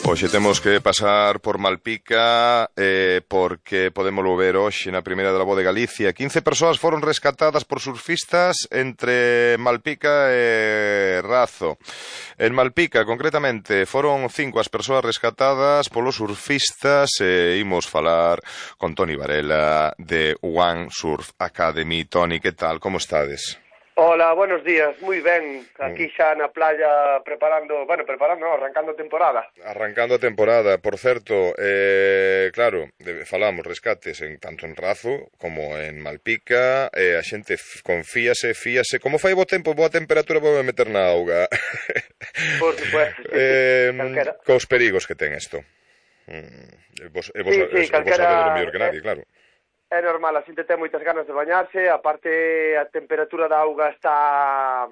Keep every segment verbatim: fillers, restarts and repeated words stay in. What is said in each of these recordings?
Hoxe temos que pasar por Malpica eh, porque podemos ver hoxe na primeira da voz de Galicia. quince persoas foron rescatadas por surfistas entre Malpica e Razo. En Malpica, concretamente, foron cinco as persoas rescatadas polos surfistas e imos falar con Toni Varela de One Surf Academy. Toni, que tal? Como estades? Hola, buenos días, moi ben, aquí xa na playa preparando, bueno, preparando, no, arrancando a temporada. Arrancando a temporada, por certo, eh, claro, de, falamos rescates en tanto en Razo como en Malpica, eh, a xente confíase, fíase, como fai bo tempo, boa temperatura, vou meter na auga. Por supuesto, sí, eh, sí, cos perigos que ten isto. Mm, vos, e vos, sí, sí, vos sabedes mellor que nadie, eh, claro. É normal, a xente ten moitas ganas de bañarse, aparte a temperatura da auga está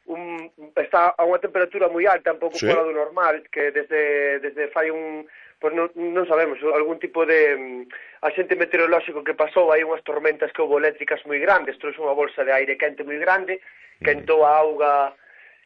un, está a unha temperatura moi alta, un pouco ¿Sí? fora do normal, que desde desde fai un, pues non, non sabemos, algún tipo de axente meteorolóxico que pasou, hai unhas tormentas que houve eléctricas moi grandes, trouxe unha bolsa de aire quente moi grande, quentou a auga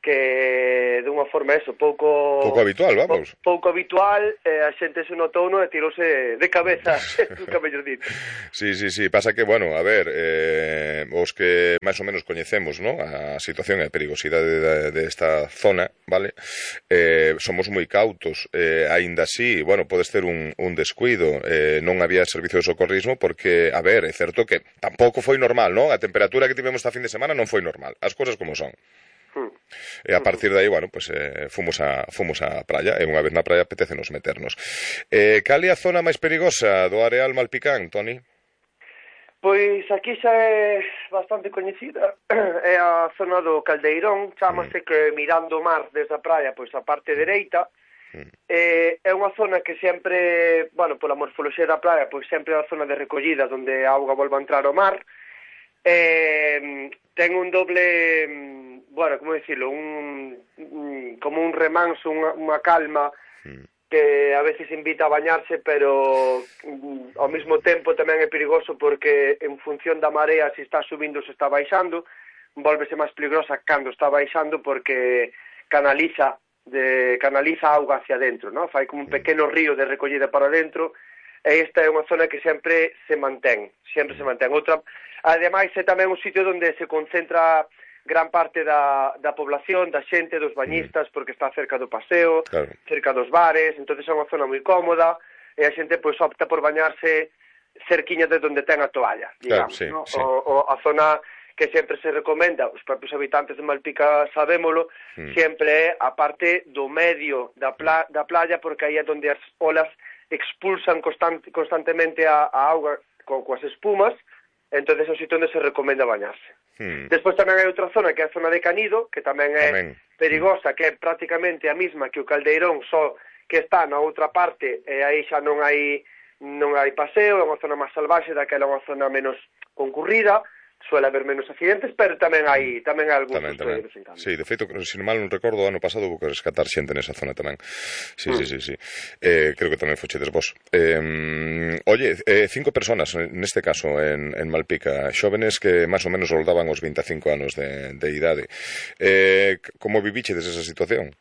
que de unha forma eso, pouco pouco habitual, vamos. Pouco habitual, eh, a xente se notou no e tirouse de cabeza, nunca mellor dito. Sí, sí, sí, pasa que, bueno, a ver, eh, os que máis ou menos coñecemos, ¿no?, a situación e a perigosidade desta de, de zona, vale? Eh, somos moi cautos, eh, aínda así, bueno, podes ter un, un descuido, eh, non había servicio de socorrismo porque, a ver, é certo que tampouco foi normal, ¿no? A temperatura que tivemos esta fin de semana non foi normal, as cousas como son. E a partir de aí, bueno, pues eh, fomos a fomos a praia, e unha vez na praia apetécenos meternos. Eh, cal é a zona máis perigosa do areal malpicán, Toni? Pois aquí xa é bastante coñecida, é a zona do Caldeirón, chámase mm. que mirando o mar desde a praia, pois a parte dereita, mm. eh, é unha zona que sempre, bueno, pola morfoloxía da praia, pois sempre é a zona de recollida, onde a auga volva a entrar ao mar, eh, ten un doble... bueno, como decirlo, un, un como un remanso, unha, unha calma que a veces invita a bañarse, pero um, ao mesmo tempo tamén é perigoso porque en función da marea, se está subindo ou se está baixando, volvese máis peligrosa cando está baixando porque canaliza de canaliza auga hacia dentro, ¿no? Fai como un pequeno río de recollida para dentro, e esta é unha zona que sempre se mantén, sempre se mantén. Outra, ademais, é tamén un sitio onde se concentra gran parte da, da población, da xente, dos bañistas, porque está cerca do paseo, claro, cerca dos bares, entonces é unha zona moi cómoda, e a xente pois opta por bañarse cerquiña de onde ten a toalla, digamos, claro, sí, ¿no? Sí. O, o a zona que sempre se recomenda, os propios habitantes de Malpica sabémolo, mm. sempre é a parte do medio da, pla, da playa, porque aí é onde as olas expulsan constante, constantemente a, a auga co, coas espumas, entonces é o sitio onde se recomenda bañarse. Hmm. Despois tamén hai outra zona que é a zona de Canido, que tamén é tamén. perigosa, que é prácticamente a mesma que o Caldeirón, só que está na outra parte, e aí xa non hai non hai paseo, é unha zona máis salvaxe, daquela é unha zona menos concurrida, suele haber menos accidentes, pero tamén hai tamén hai algún tamén, tamén. De sí, de feito, se non mal non recordo, o ano pasado houve que rescatar xente nesa zona tamén. Sí, mm. sí, sí, sí. Eh, creo que tamén fochedes vos. Eh, oye, eh, cinco personas neste caso en, en Malpica, xóvenes que máis ou menos roldaban os vinte e cinco anos de, de idade. Eh, como vivichedes esa situación?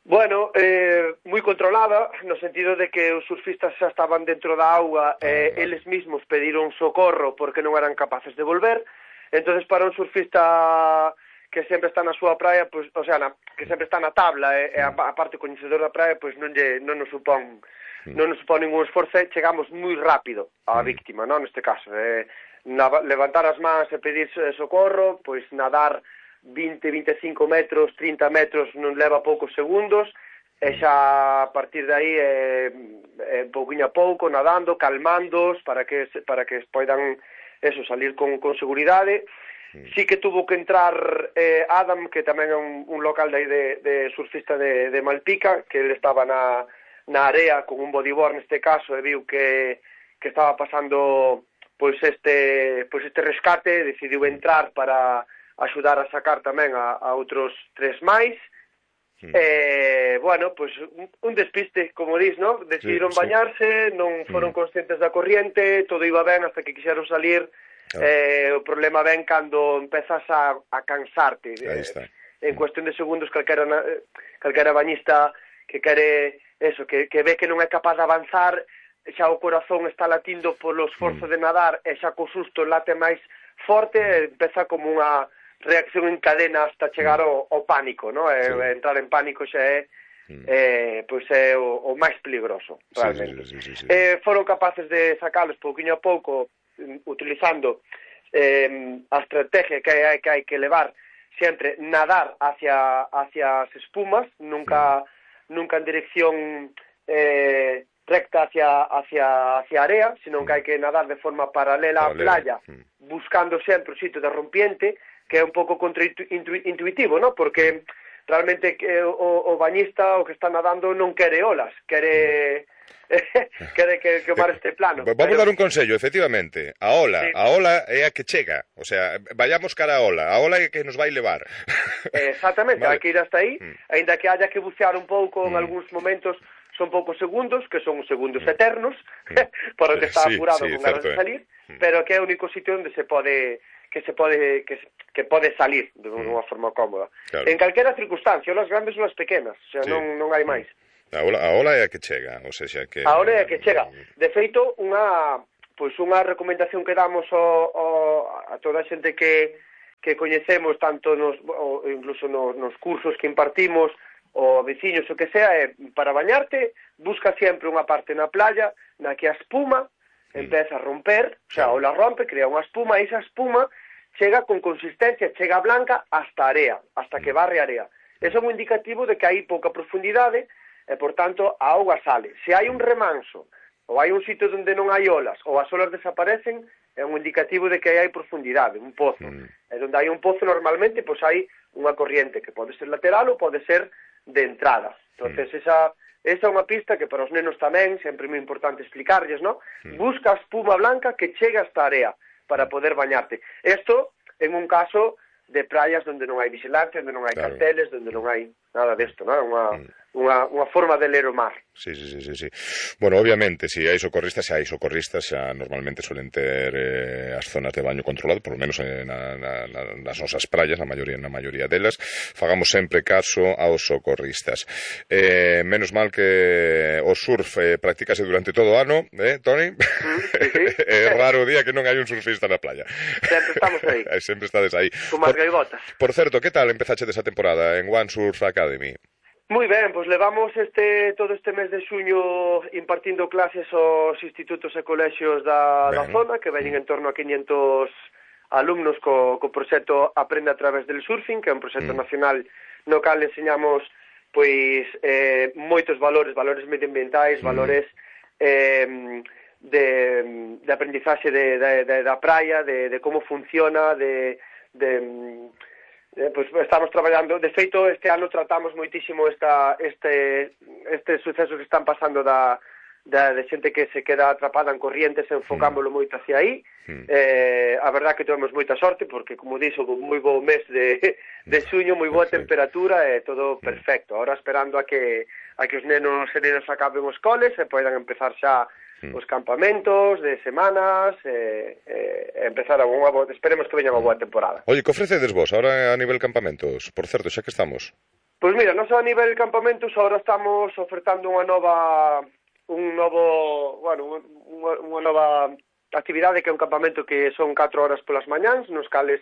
Bueno, eh, moi controlada, no sentido de que os surfistas xa estaban dentro da auga e eh, ah, eles mesmos pediron socorro porque non eran capaces de volver. Entonces para un surfista que sempre está na súa praia, pues, o sea, na, que sempre está na tabla e, e a, a parte coñecedor da praia, pois pues non, lle, non nos supón non nos supón ningún esforzo, chegamos moi rápido á víctima, non, neste caso. Eh, na, levantar as mans e pedir socorro, pois pues, nadar vinte, vinte e cinco metros, trinta metros non leva poucos segundos, e xa a partir de aí é, é pouquinho a pouco, nadando, calmándoos para que para que poidan eso, salir con, con seguridade. Sí que tuvo que entrar eh, Adam, que tamén é un, un local de, de, de surfista de, de Malpica, que ele estaba na, na area con un bodyboard neste caso, e viu que, que estaba pasando pois este, pois este rescate, decidiu entrar para axudar a sacar tamén a, a outros tres máis. Sí. Eh, bueno, pois pues, un, un despiste, como dis, ¿no? Decidiron sí, sí. bañarse, non foron mm. conscientes da corriente, todo iba ben hasta que quixeron salir. Claro. Eh, o problema ven cando empezas a, a cansarte. Aí está. Eh, en cuestión de segundos, calquera, calquera bañista que quere eso, que, que ve que non é capaz de avanzar, xa o corazón está latindo polo esforzo mm. de nadar, e xa co susto late máis forte, e empeza como unha reacción en cadena hasta chegar mm. ao, ao pánico, no? E, sí. entrar en pánico xa é mm. eh, pois é o, o máis peligroso, realmente. Sí, sí, sí, sí, sí. Eh, foron capaces de sacalos pouquinho a pouco, utilizando eh, a estrategia que hai que, hai que levar sempre, nadar hacia, hacia as espumas, nunca, mm. nunca en dirección eh, recta hacia, hacia, hacia a area, sino que hai que nadar de forma paralela á playa, mm. buscando sempre o sitio de rompiente, que é un pouco contraintuitivo, ¿no? Porque realmente o, o bañista, o que está nadando, non quere olas, quere... quere que, que o mar este plano. Vamos pero... dar un consello, efectivamente. A ola, sí. a ola é a que chega. O sea, vayamos cara a ola. A ola é que nos vai levar. Exactamente, vale. Hai que ir hasta aí, mm. ainda que haya que bucear un pouco en mm. algúns momentos, son poucos segundos, que son segundos mm. eternos, mm. por o que está sí, apurado sí, con ganas de salir, mm. pero que é o único sitio onde se pode... que se pode que, que pode salir de unha mm. forma cómoda. Claro. En calquera circunstancia, olas grandes ou as pequenas, o sea, sí. non, non hai máis. A ola, a ola é a que chega, ou seja, que... A ola é a que chega. De feito, unha pois unha recomendación que damos ao, ao, a toda a xente que, que coñecemos, tanto nos, ou incluso nos, nos cursos que impartimos, ou veciños, o que sea, é para bañarte, busca sempre unha parte na playa na que a espuma empeza a romper, o sea, a ola rompe, crea unha espuma, e esa espuma chega con consistencia, chega blanca hasta a area, hasta que barre a area. Eso é un indicativo de que hai pouca profundidade e, por tanto, a auga sale. Se hai un remanso, ou hai un sitio onde non hai olas, ou as olas desaparecen, é un indicativo de que hai profundidade, un pozo. Mm. E onde hai un pozo, normalmente, pois hai unha corriente que pode ser lateral ou pode ser de entrada. Entonces, mm. esa... Esa é unha pista que para os nenos tamén, sempre é moi importante explicarlles, ¿no? Mm. Busca a espuma blanca que chega hasta a area para poder bañarte. Isto en un caso de praias onde non hai vigilancia, onde non hai claro. carteles, onde non hai nada desto, ¿no? Unha, mm. unha, unha forma de ler o mar. Sí, sí, sí, sí, sí. Bueno, obviamente, si hai socorristas, se hai socorristas, xa normalmente suelen ter eh, as zonas de baño controlado, por lo menos en, na, na, nas nosas praias, na maioría, na maioría delas, fagamos sempre caso aos socorristas. Eh, menos mal que o surf eh, practícase durante todo o ano, eh, Toni? Mm, sí, sí. É raro o día que non hai un surfista na playa. Sempre estamos aí. Sempre estades aí. Como as gaivotas. Por certo, que tal empezaches esa temporada en One Surf Academy? Moi ben, pois levamos este todo este mes de xuño impartindo clases aos institutos e colexios da, da zona, que veñen en torno a quinhentos alumnos co, co proxecto Aprende a través del surfing, que é un proxecto mm. nacional no cal enseñamos pois eh, moitos valores, valores medioambientais, mm. valores eh, de, de aprendizaxe de, de, de, da praia, de, de como funciona, de... de Eh, pues estamos traballando, de feito este ano tratamos moitísimo esta, este, este suceso que están pasando da, da, de xente que se queda atrapada en corrientes, enfocámoslo mm. moito hacia aí. Mm. eh, a verdad que tuvemos moita sorte porque, como dixo, moi bo mes de, de xuño, moi boa temperatura e todo perfecto. Ahora esperando a que a que os nenos e nenas acaben os coles e poidan empezar xa os campamentos de semanas e, e empezar a unha boa, esperemos que veña unha boa temporada. Oye, que ofrecedes vos ahora a nivel campamentos? Por certo, xa que estamos. Pois mira, nós a nivel campamentos ahora estamos ofertando unha nova un novo, bueno, unha, unha nova actividade que é un campamento que son catro horas polas mañáns, nos cales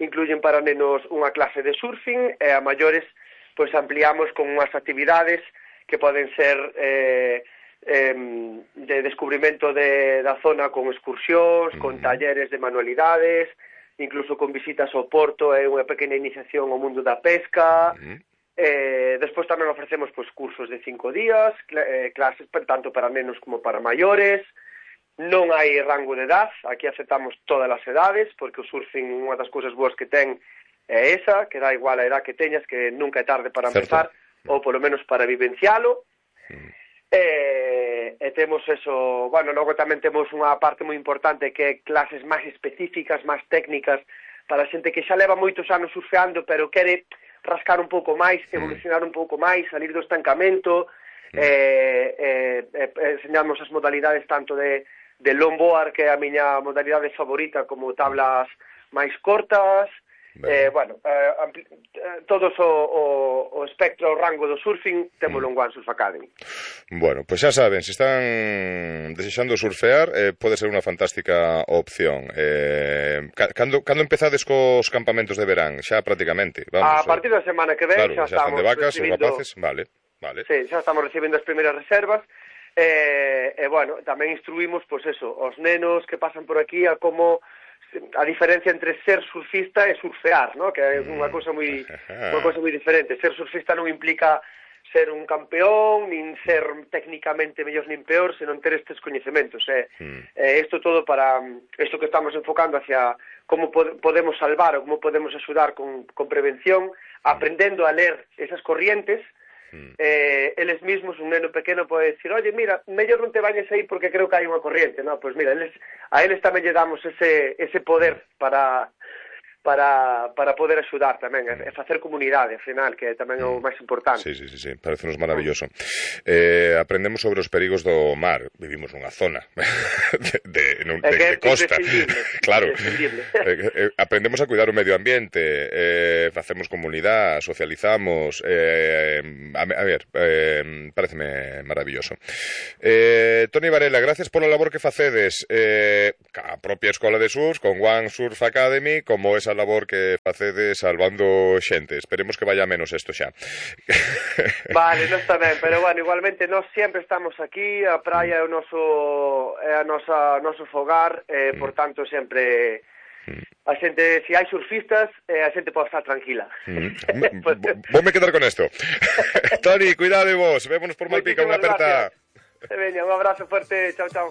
incluyen para nenos unha clase de surfing e a maiores pois ampliamos con unhas actividades que poden ser eh, Eh, de descubrimento de, da zona con excursións, con mm. talleres de manualidades, incluso con visitas ao porto e unha pequena iniciación ao mundo da pesca. Mm. eh, despois tamén ofrecemos pois, cursos de cinco días, cl eh, clases tanto para nenos como para maiores. Non hai rango de edad, aquí aceptamos todas as edades, porque o surfing unha das cousas boas que ten é esa, que dá igual a edad que teñas, que nunca é tarde para Certo. empezar, ou polo menos para vivencialo. Mm. E, e temos eso, bueno, logo tamén temos unha parte moi importante que é clases máis específicas, máis técnicas para a xente que xa leva moitos anos surfeando pero quere rascar un pouco máis, evolucionar un pouco máis, salir do estancamento. mm. eh, eh, eh, enseñamos as modalidades tanto de, de longboard, que é a miña modalidade favorita, como tablas máis cortas. Eh, bueno, eh, ampli, eh, todos o, o, o espectro, o rango do surfing, témolo mm. en One Surf Academy. Bueno, pois pues xa saben, se están desexando surfear, eh, pode ser unha fantástica opción. Eh, cando, cando empezades cos campamentos de verán? Xa prácticamente, vamos. A partir da semana que ven, claro, xa, xa están estamos de vacas recibindo... os rapaces, vale, vale. Sí, xa estamos recibindo as primeiras reservas. E, eh, eh, bueno, tamén instruímos, pois pues eso, os nenos que pasan por aquí a como a diferencia entre ser surfista e surfear, ¿no? Que é unha cousa moi unha cousa moi diferente. Ser surfista non implica ser un campeón, nin ser técnicamente mellor nin peor, senón ter estes coñecementos. Eh, eh, isto todo para isto que estamos enfocando hacia como pod podemos salvar ou como podemos axudar con, con prevención, aprendendo a ler esas corrientes. Mm. Eh, eles mismos, un neno pequeno pode decir, oye, mira, mellor non te bañes aí porque creo que hai unha corriente, no, pois mira, eles, a eles tamén lle damos ese, ese poder para, para, para poder axudar tamén, e facer comunidade, ao final, que tamén é o máis importante. Sí, sí, sí, sí. Parecenos maravilloso. Eh, aprendemos sobre os perigos do mar, vivimos nunha zona de, de, de, de, de costa, claro, eh, eh, aprendemos a cuidar o medio ambiente, eh, facemos comunidade, socializamos, eh, a, a ver, eh, pareceme maravilloso. Eh, Toni Varela, gracias pola labor que facedes eh, a propia Escola de Surf, con One Surf Academy, como esa labor que facedes salvando xente. Esperemos que vaya menos esto xa. Vale, non está ben, pero bueno, igualmente nós sempre estamos aquí, a praia é o noso é a nosa noso fogar, eh, por tanto sempre a xente, se hai surfistas, eh, a xente pode estar tranquila. Mm. Vou me quedar con esto. Toni, cuidade vos, vémonos por Malpica, unha aperta. Veña, un abrazo fuerte, chao, chao.